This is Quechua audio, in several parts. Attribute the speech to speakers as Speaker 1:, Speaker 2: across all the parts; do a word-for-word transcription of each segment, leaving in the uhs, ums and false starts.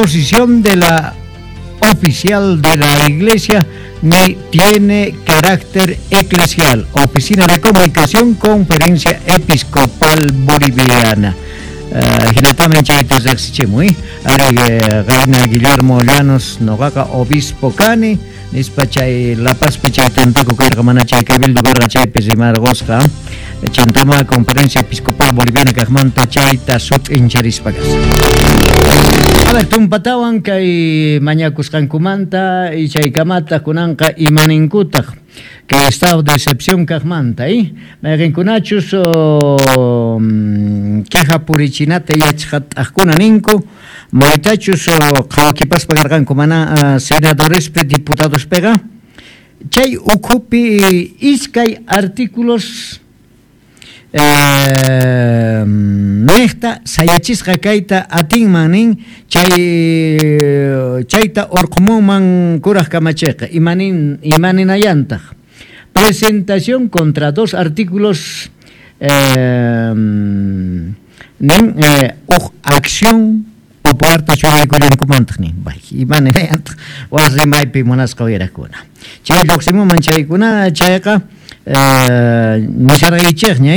Speaker 1: posición de la oficial de la Iglesia ni tiene carácter eclesial. Oficina de Comunicación, Conferencia Episcopal Boliviana. Hinatamin chayta riqsichimuy ari qayna Guillermo Llanos noqaqa obispo kani nispa chay La Pazpi chay tantaku karqa mana chay cabildo karqa chaypi rimarqusqa chantama Conferencia Episcopal Boliviana kaqmanta chayta sut'incharispa kasqa. A ver, tumpatawan kay mañakusqankumanta y chaykamataq kunanqa imaninkutaq kay estado de excepción kaqmanta, eh? Mayqinkunachus queja purichinata yachqat'aqkuna ninku maytachus qhawakipaspa karqanku mana senadorespi diputadospiqa chay ukhupi iskay artículos eh, niqta sayachisqa kayta atinman nin chay chayta urqumunman kuraq kamachiqa imanin imaninayantaq presentación contra dos artículos eh, nin eh, uj acción popularta churaykullankumantaq nin bay imaninayantaq waq rimaypi munasqa uyaraqkuna chay lluqsimunman chaykuna chayqa nisharqaychikña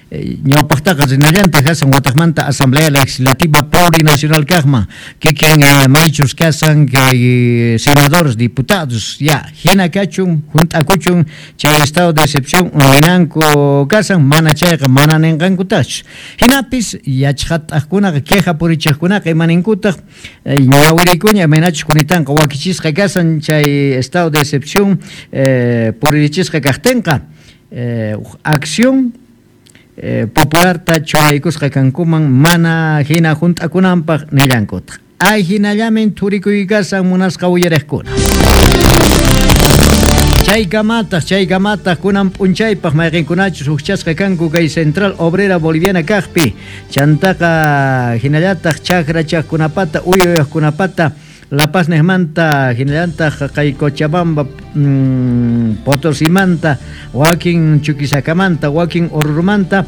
Speaker 1: ñawpaqtaqa rinallantaq kasan wataqmanta Asamblea Legislativa Plurinacional kaqman kikin maychus kasan kay senadores diputados ya hina kachun hunt'akuchun chay estado de excepción ninanku kasan mana chayqa mana ninqankutaqchu hinapis yachqat'aqkunaqa queja purichiqkunaqa imaninkutaq ñawirikuña imaynachus kunitanqa wakichisqa kasan chay estado de excepción puririchisqa kaqtinqa Eh, acción eh, popularta churaykusqa kankuman mana hina hunt'akunanpaq nillankutaq ay hinallamin thurikuykasan munasqa uyariqkuna chaykamataq chaykamataq kunan p'unchaypaq mayqinkunachus hukchasqa kanku kay Central Obrera Boliviana kaqpi chantaqa hinallataq chakrachaqkunapata uyuyaqkunapata La Paz niqmanta hinallataq kay Cochabamba mmm, Potosimanta wakin Chuquisakamanta wakin Orurumanta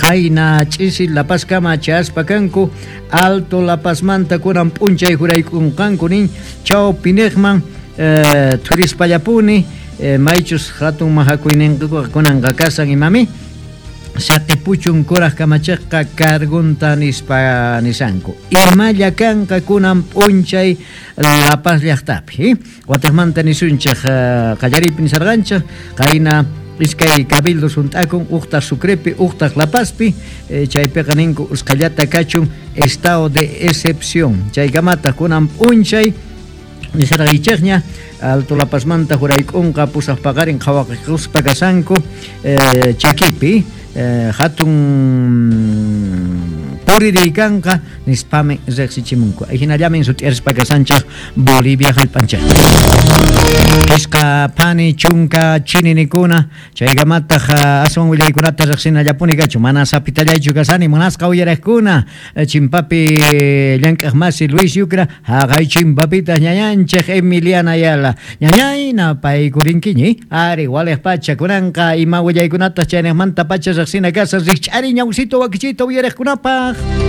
Speaker 1: qayna ch'isi La Paz kama chayaspa kanku Alto La Pazmanta kunan p'unchay juraykunqanku nin chawpiniqman eh, thurispallapuni eh, maychus hatun mahakuyninkuqa kunanqa kasan imami saqipuchun kuraq kamachiqqa cargunta nispa nisanku imalla kanqa kunan p'unchay La Paz llaqtapi wataqmanta nisunchik qallariypi nisarqanchik qayna iskay cabildos hunt'akun uqtaq Sucrepi uqtaq La Pazpi chaypiqa ninku usqhallata kachun estado de excepción chaykamataq kunan p'unchay nisarqaychikña Alto La Pazmanta jurayk'unqa pusaq paqarin qhawaqikuspa kasanku eh, chakipi eh, hatun puririykanqa nispami riqsichimunku hinallamin sut'irispa kasanchik Bolivia hallp'anchik Pisqa phani chunka chininikuna chaykamataq aswan willaykunata riqsinallapuni kachu mana sapitallaychu kasani munasqa uyariqkuna chimpapi llank'aq masi Luis Yucra haqay chimpapitaq ñañanchik Emiliana Ayala ñañayna paykurinkiñi ari waliq pacha kunanqa ima willaykunataq chayniqmanta pacha riqsina kasa rikch'ari ñawsito wakichito uyariqkunapaq.